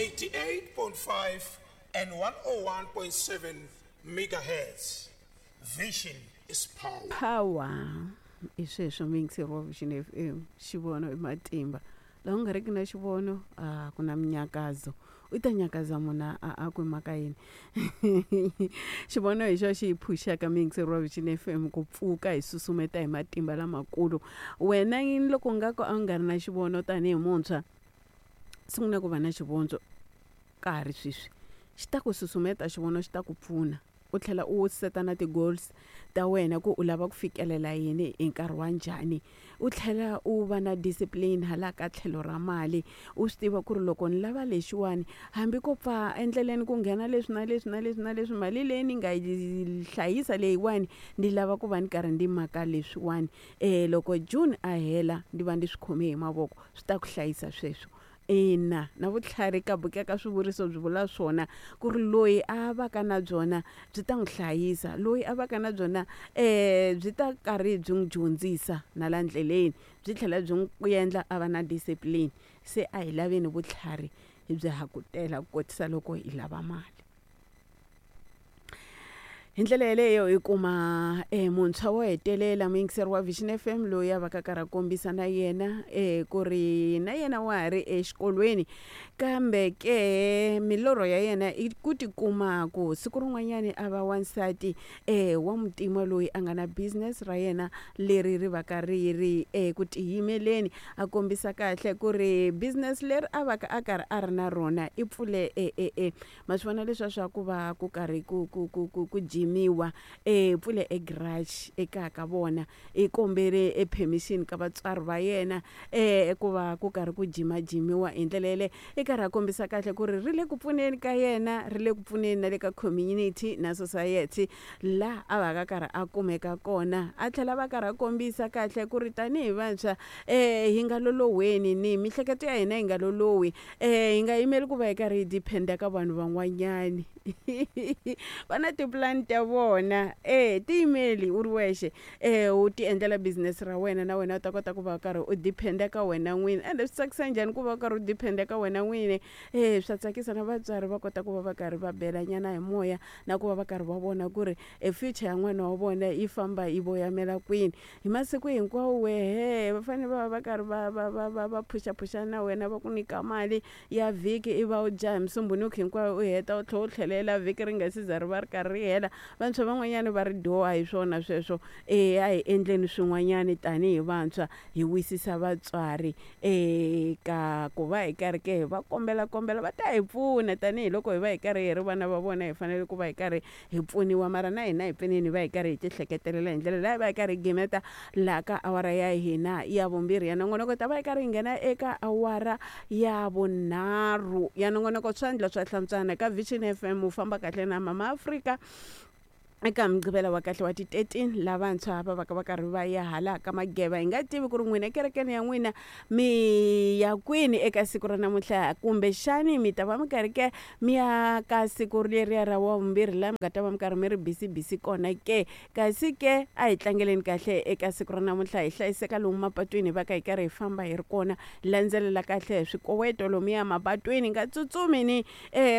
88.5 and 101.7 megahertz. Vision is power. Power i sweswo muyingiseri wa Vision FM xivono i matimba laha u nga riki na xivono a ku na minyakazo u ta nyakaza munhu a a ku mhaka yini xivono hi xo xi hi phuxaka muyingiseri wa Vision FM ku pfuka hi susumeta hi matimba lamakulu wena yini loko u nga ku a wu nga ri na xivono tanihi muntshwa sungula ku va na xivondzo ka ha ri sweswi xi ta ku susumeta xivono xi ta ku pfuna u tlhela u seta na ti-goals ta wena ku u lava ku fikelela yini hi nkarhi wa njhani u tlhela u va na discipline hala ka tlhelo ra mali u swi tiva ku ri loko ni lava lexiwani hambi ko pfa endleleni ku nghena leswi na leswi na leswi na leswi mali leyi ni nga yi hlayisa leyiwani ni lava ku va ni karhi ndi maka leswiwani loko June a hela ndi va ndi swi khome hi mavoko swi ta ku hlayisa sweswo ina na vutlhari ka buku ya ka swivuriso byi vula swona ku ri loyi a va ka na byona byi ta n'wi hlayisa loyi a va ka na byona byi ta karhi byi n'wi dyondzisa na la ndleleni byi tlhela byi n'wi endla a va na discipline se a hi laveni vutlhari hi byi hakutela ku kotisa loko hi lava mali. Hi ndlela yeleyo hi kuma muntshwa wo hetelela muyingiseri wa Vision F_M loyi a va ka karhi a kombisa na yena ku ri na yena wa ha ri exikolweni kambe ke milorho ya yena i ku tikuma ku siku rin'wanyani a va wansati wa muntima loyi a nga na business ra yena leri ri va ka ri ri eku tiyimeleni a kombisa kahle ku ri business leri a va ka a karhi a ri na rona i pfule e e e ma swi vona leswiya swa ku va ku karhi ku ku ku ku ku jimiwa e pfule e garage ekaya ka vona i kombele e permission ka vatswari va yena ku va ku karhi ku jimajimiwa hi ndlela yeleyo i karhi a kombisa kahle ku ri ri le ku pfuneni ka yena ri le ku pfuneni na le ka community na society laha a va ka karhi a kumeka kona a tlhela va karhi a kombisa kahle ku ri tanihi vantshwa hi nga loloweni ni mihleketo ya hina yi nga lolohi hi nga yimeli ku va hi karhi hi depend-a ka vanhu van'wanyani va na tipulani ta vona e tiyimeli u ri wexe u ti endlela business ra wena na wena u ta kota ku va u karhi u depend-a ka wena n'wini ende swi tsakisa njhani ku va u karhi u depend-a ka wena n'wini e swa tsakisa na vatswari va kota ku va va karhi va bela nyana hi moya na ku va va karhi va vona ku ri e future ya n'wana wa vona yi famba yi voyamela kwini hi masiku hinkwawo wehe va fanele va va va karhi va va va va va phuxaphuxana na wena va ku nyika mali ya vhiki i va u dya hi musumbhunuku hinkwayo u heta u tlhela u tlhelela vhiki ri nga si za ri va ri karhi ri hela vantshwa van'wanyana va ri dyoha hi swona sweswo eya a hi endleni swin'wanyani tanihi vantshwa hi wisisa vatswari eka ku va hi karhi ke hi va kombela kombela va ta hi pfuna tanihiloko hi va hi karhi hi ri vana va vona hi fanele ku va hi karhi hi pfuniwa mara na hina hi pfuneni hi va hi karhi hi ti hleketelela hi ndlela leyi va hi karhi hi gimeta laha ka awara ya hina ya vumbirhi ya nongonoko ta va hi karhi hi nghena eka awara ya vunharhu ya nongonoko swandla swa hlantswana ka Vision F_M u famba kahle na Mama Afrika eka mugqivela wa kahle wa ti 13 lavantshwa va va ka va karhi va ya hala ka mageva hi nga tivi ku ri n'wina ekerekeni ya n'wina mi ya kwini eka siku ra namuntlha kumbexani mi ta va mi karhi ke mi ya ka siku leriya ra wa vumbirhi laha mi nga ta va mi karhi mi ri busy busy kona ke kasi ke a hi tlangeleni kahle eka siku ra namuntlha hi hlayiseka lomu mapatwini hi va ka hi karhi hi famba hi ri kona landzelela kahle swikoweto lomuya mapatwini nga tsutsumi ni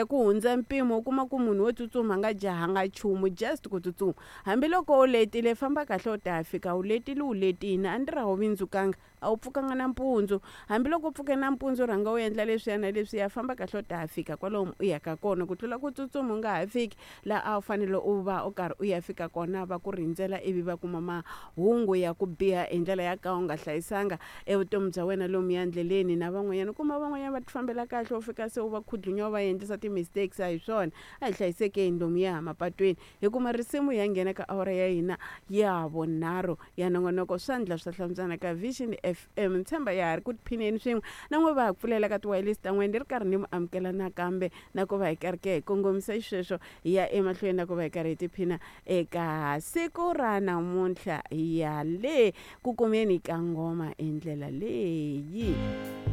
ku hundza mpimo u kuma ku munhu wo tsutsuma a nga jahanga nchumu just ku tsutsuma hambiloko u letile famba kahle u ta ya fika u letile u letini a ni ri a wu vindzukanga a wu pfukanga nampundzu hambiloko u pfuke nampundzu rhanga u endla leswiya na leswiya famba kahle u ta ya fika kwalomu u yaka kona ku tlula ku tsutsuma u nga ha fiki laha a wu fanele u va u karhi u ya fika kona va ku rindzela ivi va kuma mahungu ya ku biha hi ndlela ya ka u nga hlayisanga evutomi bya wena lomuya ndleleni na van'wanyana u kuma van'wanyana va ti fambela kahle u fika se u va khudlunya u va endlisa ti-mistakes a hi swona a hi hlayisekeni lomuya mapatwini hi kuma risimu hi ya nghena ka awara ya hina ya vunharhu ya nongonoko swandla swa hlantswana ka Vision F_M ni tshemba ya ha ri ku tiphineni swin'we na n'we va ha ku pfulela ka tiwayilesi ta n'wina ni ri karhi ni mi amukela nakambe na ku va hi karhi ke hi kongomisa xisweswo hi ya emahlweni na ku va hi karhi hi tiphina eka siku ra namuntlha ya le ku kumeni ka ngoma hi ndlela leyi.